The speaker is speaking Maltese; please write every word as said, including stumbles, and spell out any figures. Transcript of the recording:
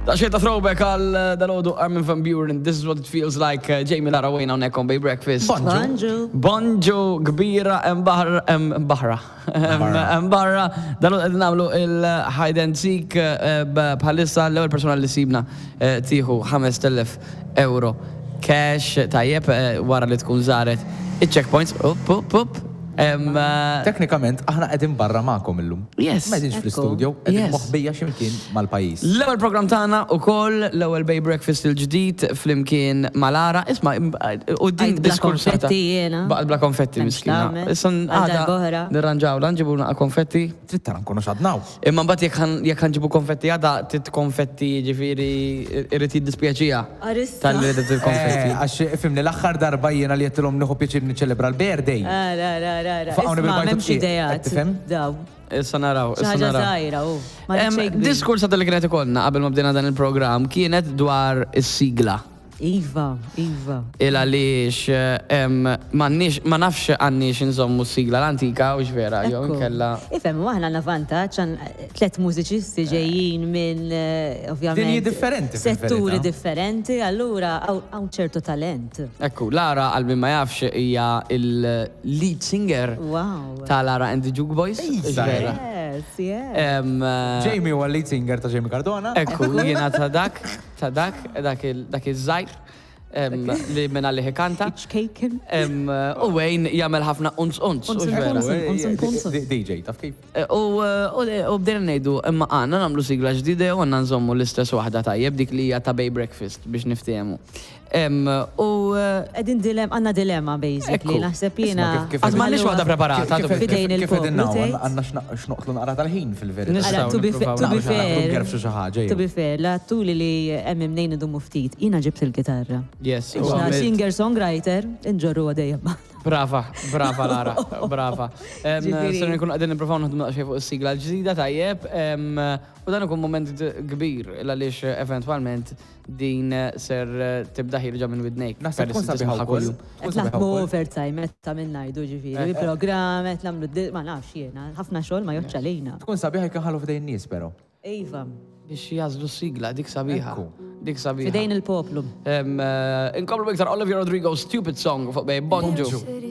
Ta' xejn ta' throwback għal eh, dalgħodu, Armin van Buuren, "This Is What It Feels Like", eh, Jamie, Lara, Wayne hawnhekk on Bay Breakfast. Bonġu. Bonġu kbira hemm baħar, hemm baħra. Hemm barra. Dalgħodu qed nagħmlu il-hide and seek eh, b- bħalissa l-ewwel persuna li sibna eh, tieħu ħamest elef euro cash, tajjeb, eh, wara li tkun żaret il-checkpoints. Up, up, up. Em, eh, Teknikament, aħna qegħdin barra magħkom illum. Yes. Ma qegħdinx Ekku. fl-studio, qegħdin Yes. moħbija x'imkien mal-pajjiż. L-ewwel program tagħna ukoll, l-ewwel Bay Breakfast il-ġdid flimkien ma' Lara. Isma', u din Għajt bla diskursata. konfetti jiena. Baqgħet bla konfetti, M'hemmx miskina. tagħmel. Issa Għal għada darb'oħra. nirranġaw, nġibu naqa konfetti. Trid tara nkunu xadnaw. Imma mbagħad jekk ħan- jekk ħa nġibu konfetti għada, tit konfetti, ġifieri irrid jiddispjaċija Arissa. tal-li ridet il-konfetti. Eh, għax ifhimni, l-aħħar darba jiena li għedtilhom nieħu pjaċir niċċelebra l-birthday. Ah, ra, ra, ra, ra. Faqgħuni Isma' bil-bajtu m'hemmx tqiegħ, ideat. qed tifhem? Daw. Issa naraw, Xi issa ħaġa naraw. żgħira, u. Ma Em, rridx xejn kbir. Diskursa li kienet ikollna qabel ma bdejna dan il-programm kienet dwar is-sigla. Iva, iva. Il għaliex em, m'għandniex, ma nafx għandniex nżommu s-sigla l-antika u vera, jew Ekku. inkella. Ifhem, u aħna għandna vantaġġ, għan tlet mużiċisti ġejjin minn, eh, ovvjament, Dinji differenti setturi fil-verità. differenti, allura hawn hawn ċertu talent. Ekku, Lara, għal min ma jafx, hija il-lead singer Wow. ta' Lara and the Juke Boys. Iżda. Vera. Yes, yes. Em, eh, Jamie huwa lead singer ta' Jamie Cardona. Ekku, jiena ta' dak, ta' dak, dak il- dak iż-żgħir em, li minna li kanta. Iċkejken. Em, U Wayne jagħmel ħafna unz unz. Unz, u vera. unz. Unz, unz. D- D J, taf kif? Eh, U u bdejna ngħidu, imma għandna nagħmlu sigla ġdida u għandna nżommu l-istess waħda, tajjeb, dik li hija ta' Bay Breakfast biex niftehmu. Em, U eh, Qegħdin dilem, għandna dilemma basically, Ekku. naħseb jiena. Isma' kif- kif- Għad m'għandniex waħda preparata. Kif- to be- Fidejn Kif il-poplu, qegħdin hawn, tgħid? għandna x'noqtlu naqra tal-ħin fil-verità. Nistgħu Ara, to be fa- nippruvaw to be nagħmlu xi ħaġa. fair. Ngerfxu xi ħaġa, To be fair, la tuli li hemm mnejn idumu ftit, jiena ġibt il-gitarra. Yes, u Ixna għamilt- singer-songwriter, inġorru għadejja. Brava, brava Lara, brava. Em, Ġifieri- Ser nkunu qegħdin nippruvaw naħdmu daqsxejn fuq is-sigla l-ġdida, tajjeb, em, u dan ikun moment kbir għaliex eventwalment din ser tibda ħierġa minn widnejk Naħseb peress tkun li sabiħa tismagħha wkoll. kuljum. Tkun Qed sabiħa naħdmu wkoll. overtime, qed ta' minn ngħidu ġifieri, Eh, eh. programm, qed nagħmlu di- ma nafx jiena, ħafna xogħol ma joħroġ għalina. Tkun sabiħa jekk inħallu f'idejn nies però. Iva, Biex jagħżlu s-sigla, dik sabiħa. Ekku. Dik sabiħa. Fidejn il-poplu. Em, eh, Inkomplu iktar Olivia Rodrigo, "Stupid Song" fuq Bay. Bonġu.